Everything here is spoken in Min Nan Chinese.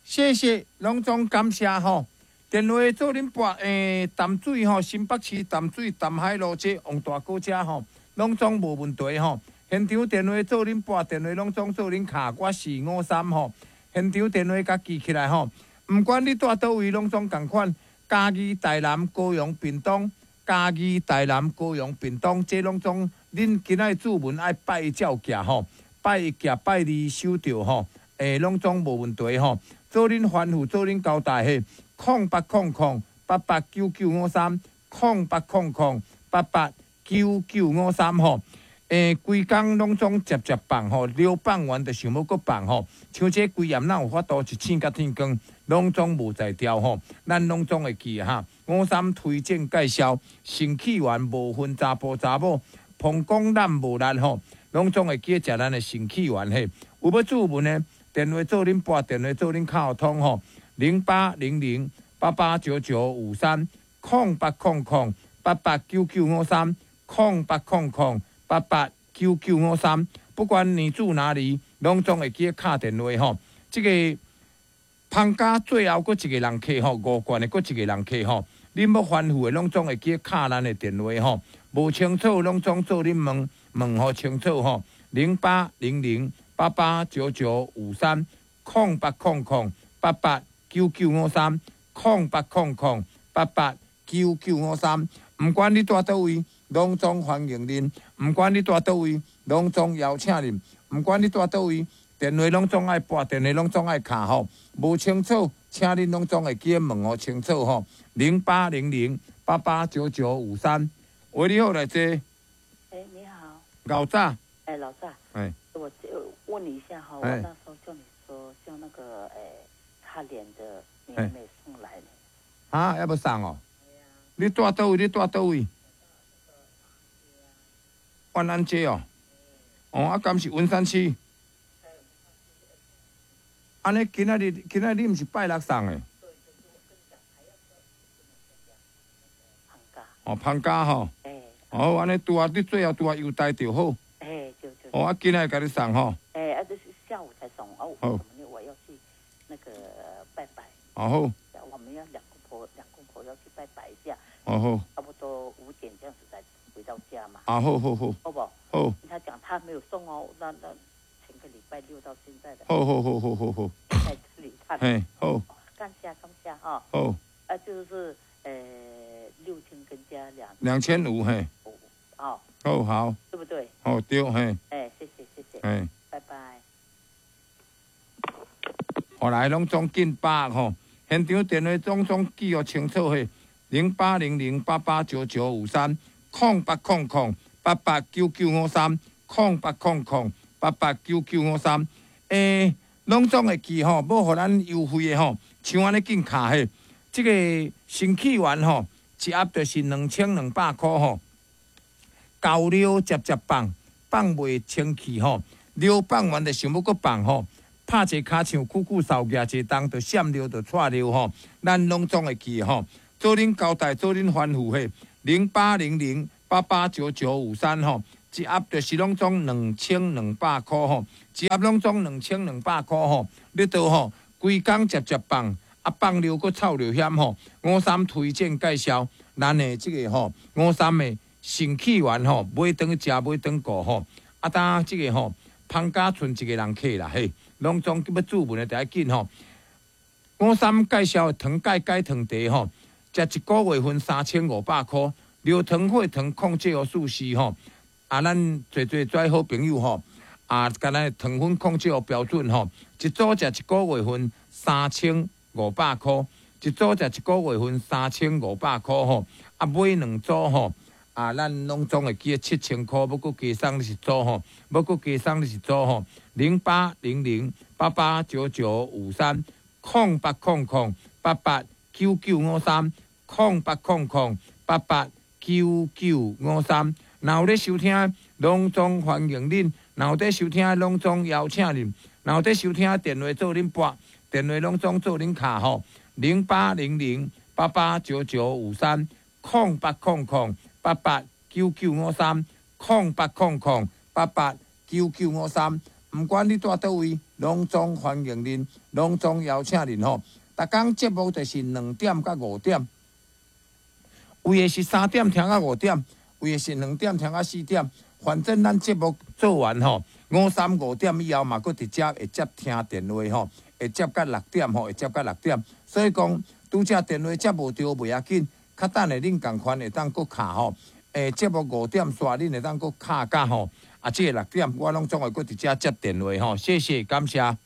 謝謝，攏總感謝吼。電話做恁撥淡水吼，新北市淡水淡海路這王大哥遮吼，攏總無問題吼。現場電話做恁撥，電話攏總做恁敲，我是五三吼。現場電話共記起來吼，毋管你蹛佗位，攏總仝款。嘉義、台南、高雄、屏東，嘉義、台南、高雄、屏東，這攏總恁今仔注文愛拜一照寄吼，拜一寄拜二收著吼，攏總無問題吼。做恁吩咐，做恁交代嘿，0800889953，0800889953吼。規工攏總接接放吼，尿放完就想欲閣放吼。像這規暗哪有法度一醒甲天光，攏總無在調吼。咱攏總會記哈。五三推薦介紹，腎氣丸無分查埔查某，膀胱懶無力吼，攏總會記食咱的腎氣丸嘿。有欲注文的，電話做恁撥，電話做恁敲通吼，0800889953，0800889953，0800889953，不管你住哪裡，攏總會記得敲電話吼。這個芳家最後閣一個人客吼，五罐的閣一個人客吼，恁欲吩咐的攏總會記得敲咱的電話吼。無清楚攏總做恁問問予清楚吼。0800889953，0800889953，0800889953。毋管你蹛佗位，攏總歡迎恁；毋管你蹛佗位，攏總邀請恁；毋管你蹛佗位，電話攏總愛撥，電話攏總愛敲吼。無清楚，請恁攏總會記得問予清楚吼。0800889953，喂，你好，來坐。欸，你好。老早。欸，老早。欸。我就問你一下哈，我那時候叫你說叫那個擦臉的，你還沒送來呢。啊，猶無送哦。你蹛佗位？你蹛佗位？萬安街哦，哦，啊，敢是文山區？按呢，今仔日今仔日你毋是拜六送的？哦，芳家吼。哦，按呢拄啊，你最後拄啊郵袋就好。欸，對對。哦，啊，今仔日共你送吼。欸，啊，這是下午才送哦。好。我要去那個拜拜。哦好。我們要兩公婆，兩公婆要去拜拜一下。哦好。差不多5點這樣子才回到家嘛。啊好好好。好不好？好。他講他沒有送哦，那前個禮拜六到現在的。好好好好好好。在這裡他。嘿，好。感謝感謝哈。好。啊，就是6000跟加兩。2500嘿。哦。好好。對不對？哦對嘿。欸，謝謝謝謝。嘿。拜拜。後來攏總緊百吼，現場電話總總記予清楚嘿，0800889953，0800889953，0800889953。欸，攏總會記吼，欲予咱優惠的吼，像按呢緊敲嘿，這個腎氣丸吼，一盒就是2200箍吼，厚尿接接放，放袂清氣吼，尿放完就想欲閣放吼。拍一个跤像久久掃舉一冬，就閃尿就掣尿吼，咱攏總會記吼。做恁交代，做恁吩咐嘿，0800889953吼，一盒就是攏總2200箍吼，一盒攏總2200箍吼。你都吼，規工接接放，啊放尿閣臭尿險吼。五三推薦介紹，咱的這個吼，五三的腎氣丸吼，買轉去食，買轉顧吼。啊，當這個吼，芳家賰一個人客啦嘿。攏總欲注文的，就愛緊吼。五三介紹的糖鈣解糖茶吼，食一個月份3500箍，尿糖血糖控制予舒適吼。啊，咱濟濟跩好朋友吼，啊，共咱糖分控制予標準吼，一組食一個月份3500箍，一組食一個月份3500箍吼，啊，買兩組吼。啊，咱攏總會記得7000箍，欲閣加送你一組吼，欲閣加送你一組吼，0800889953，0800889953，0800889953。若有咧收聽，攏總歡迎恁；若有佇收聽，攏總邀請恁；若有佇收聽，電話做恁撥，電話攏總做恁敲吼，0800889953，0800889953，0800889953。毋管你蹛佗位，攏總歡迎恁，攏總邀請恁吼。逐工節目就是2點到5點，有的是3點聽到5點，有的是2點聽到4點。反正咱節目做完吼，五三五點以後嘛，閣直接會接聽電話吼，會接到六點吼，會接到六點。所以講，拄才電話接無著袂要緊，較等下恁仝款會當閣敲吼。節目五點煞，恁會當閣敲到吼。啊，這个6點我攏總會閣佇遮接電話吼。謝謝，感謝。